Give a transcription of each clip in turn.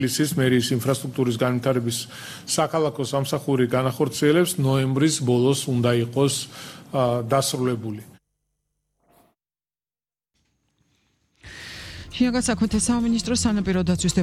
თბილისის მერის ინფრასტრუქტურის განვითარების საქალაქო სამსახური განახორციელებს ნოემბრის ბოლოს უნდა იყოს დასრულებული. შინაგან საქმეთა სამინისტროს სანაპირო დაცვის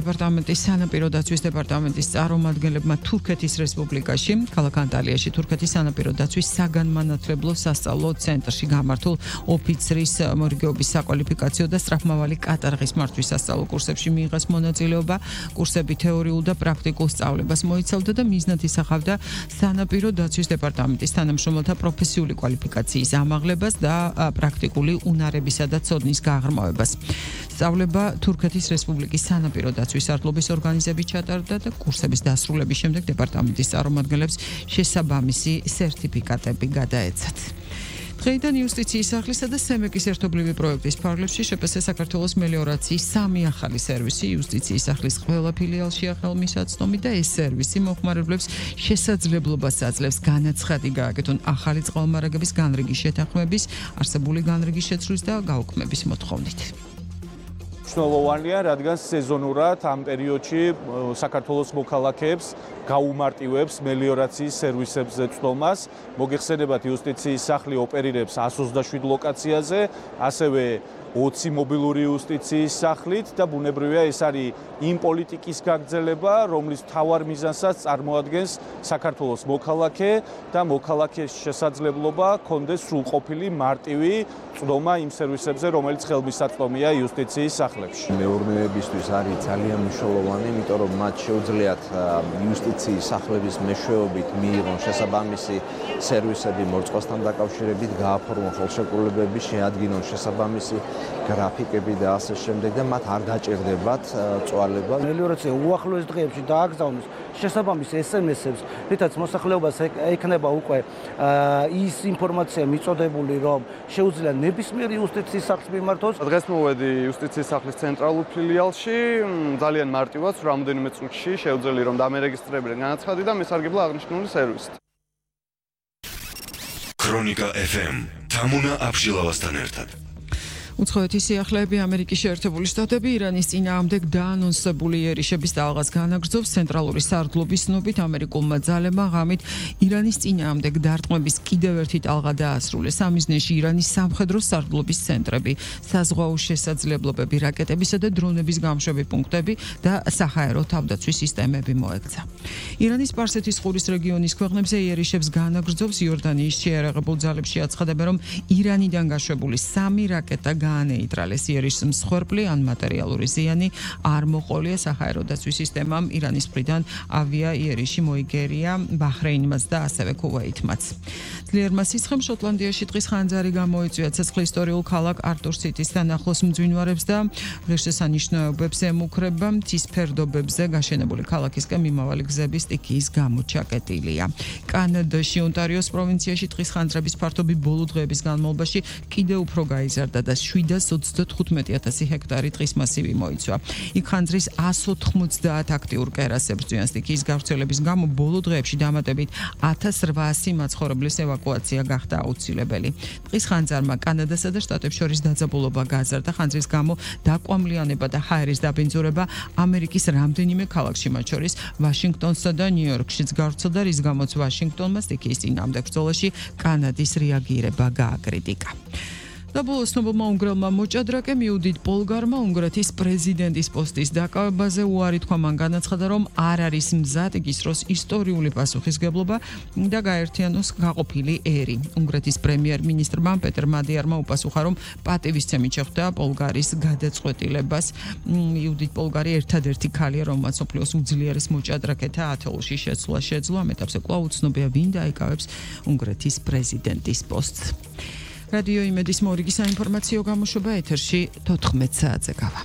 დეპარტამენტის წარმომადგენლებმა თურქეთის რესპუბლიკაში, ქალაქ ანტალიაში თურქეთის სანაპირო დაცვის საგანმანათლებლო სასწავლო ცენტრში გამართულ ოფიცრის მორიგეობის საკვალიფიკაციო და სწრაფმავალი კატარღის მართვის სასწავლო კურსებში მიიღეს მონაწილეობა. კურსები თეორიულ და პრაქტიკულ სწავლებას მოიცავდა და მიზნად ისახავდა სანაპირო დაცვის დეპარტამენტის თანამშრომელთა პროფესიული კვალიფიკაციის ამაღლებას და პრაქტიკული უნარებისა და ცოდნის გაღრმავებას. სწავლება თურქეთის რესპუბლიკის სანაპირო დაცვის სარდლობის ორგანიზებით ჩატარდა და კურსების დასრულების შემდეგ დეპარტამენტის წარმომადგენლებს შესაბამისი სერტიფიკატები გადაეცათ. დღეიდან იუსტიციის სახლისა და სემეკის ერთობლივი პროექტის ფარგლებში შპს საქართველოს მელიორაციის 3 ახალი სერვისი იუსტიციის სახლის ყველა ფილიალშია ხელმისაწვდომი და ეს სერვისი მომხმარებლებს შესაძლებლობას აძლევს განაცხადი გააკეთონ ახალი წყალმარაგების განრიგის შეთანხმების, არსებული განრიგის შეცვლის და გაუქმების მოთხოვნით. მნიშვნელოვანია, რადგან სეზონურად ამ პერიოდში საქართველოს მოქალაქეებს გაუმარტივებს მელიორაციის სერვისებზე წვდომას. მოგეხსენებათ, იუსტიციის სახლი ოპერირებს 127 ლოკაციაზე, ასევე 20 მობილური იუსტიციის სახლით და ბუნებრივია ეს არის იმ პოლიტიკის გაგრძელება, რომლის მთავარ მიზანსაც წარმოადგენს საქართველოს მოქალაქე და მოქალაქეს შესაძლებლობა კონდეს სრულყოფილი მარტივი წვდომა იმ სერვისებზე, რომელიც ხელმისაწვდომია იუსტიციის სახლებში. მეურნეობისთვის არის ძალიან მნიშვნელოვანი, იმიტომ რომ მათ შეუძლიათ იუსტიციის სახლების მეშვეობით მიიღონ შესაბამისი სერვისები მორწყვასთან დაკავშირებით, გააფორმონ ხელშეკრულებები, შეადგინონ შესაბამისი გრაფიკები და ასე შემდეგ და მათ არ გაჭირდებათ წვალება. მელიორაცია უახლოეს დღეებში დააგზავნოს შესაბამის SMS-ებს, რითაც მოსახლეობას ექნება უკვე ის ინფორმაცია მიწოდებული, რომ შეუძლია ნებისმიერ იუსტიციის სახლს მიმართოს. დღეს მოვედი იუსტიციის სახლის ცენტრალურ ფილიალში, ძალიან მარტივად, რამდენიმე წუთში შეუძლია რომ დამერეგისტრებინა განაცხადი და მისარგებლა აღნიშნული სერვისით. ქრონიკა FM თამუნა აბშილავასთან ერთად. უცხოეთის სიახლეები ამერიკის შეერთებული შტატები ირანის წინააღმდეგ დაანონსებული იერიშების ტალღას განაგრძობს. ცენტრალური სარდლობის ცნობით ამერიკულმა ძალებმა ღამით ირანის წინააღმდეგ დარტყმების კიდევ ერთი ტალღა დაასრულეს. სამიზნეში ირანის სამხედრო სარდლობის ცენტრები, საზღვაო შესაძლებლობები, რაკეტებისა და დრონების გამშვები პუნქტები და საჰაერო თავდაცვის სისტემები მოექცა. ირანის სპარსეთის ყურის რეგიონის ქვეყნებზე იერიშებს განაგრძობს. იორდანიის შეიარაღებულ ძალებში აცხადებენ, რომ ირანიდან გაშვებული 3 რაკეტა განეიტრალეს. იერიშს მსხვერპლი ან მატერიალური ზიანი არ მოყოლია. საჰაერო დაცვის სისტემამ ირანის მხრიდან ავია იერიში მოიგერია ბაჰრეინმაც და ასევე ქუვეითმაც. ძლიერმა სიცხემ შოტლანდიაში ტყის ხანძარი გამოიწვია. ცეცხლი ისტორიულ ქალაქ არტურ-სიტისთან ახლოს მძვინვარებს და ღირსშესანიშნაობებს ემუქრება. მთის ფერდობებზე გაშენებული ქალაქისკენ მიმავალი გზების სტიქიის გამო ჩაკეტილია. კანადაში ონტარიოს პროვინციაში ტყის ხანძრების ფართობი ბოლო დღეების განმავლობაში კიდევ უფრო გაიზარდა და 735,000 ჰექტარი ტყის მასივი მოიცვა. იქ ხანძრის 190 აქტიურ კერას ებრძვიან. სტიქიის გავრცელების გამო ბოლო დღეებში დამატებით 1800 მაცხოვრებლის ევაკუაცია გახდა აუცილებელი. ტყის ხანძარმა კანადასა და შტატებს შორის დაძაბულობა გააზარდა. ხანძრის გამო დაკვამლიანება და ჰაერის დაბინძურება ამერიკის რამდენიმე ქალაქში, მათ შორის ვაშინგტონსა და ნიუ-იორკშიც გავრცელდა, რის გამოც ვაშინგტონმა სტიქიის წინააღმდეგ ბრძოლაში კანადის რეაგირება გააკრიტიკა. და ბოლოს ცნობილმა უნგრელმა მოჭადრაკემ იუდიტ პოლგარმა უნგრეთის პრეზიდენტის პოსტის დაკავებაზე უარი თქვა. მან განაცხადა, რომ არ არის მზად იგისროს ისტორიული პასუხისგებლობა და გაერთიანოს გაყოფილი ერი. უნგრეთის პრემიერ-მინისტრმა პეტერ მადიარმა უპასუხა, რომ პატივისცემით შეხვდა პოლგარის გადაწყვეტილებას. იუდიტ პოლგარი ერთადერთი ქალია, რომელმაც მსოფლიოს უძლიერეს მოჭადრაკეთა ათეულში შეცვლა. ამ ეტაპზე კვლავ უცნობია, ვინ დაიკავებს უნგრეთის პრეზიდენტის პოსტს. რადიო იმედის მორიგი საინფორმაციო გამოშვება ეთერში 14 საათზე გავა.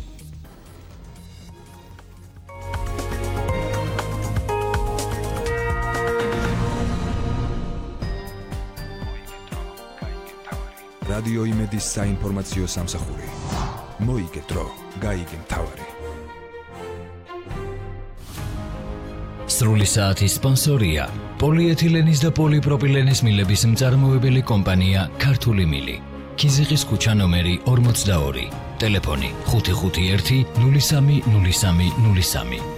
რადიო იმედის საინფორმაციო სამსახური. მოიგეთ დრო, გაიგე მთავარი. სრული საათის სპონსორია პოლიეთილენის და პოლიპროპილენის მილების მწარმოებელი კომპანია ქართული მილი. ქიზიყის ქუჩა ნომერი 42. ტელეფონი 551 030303.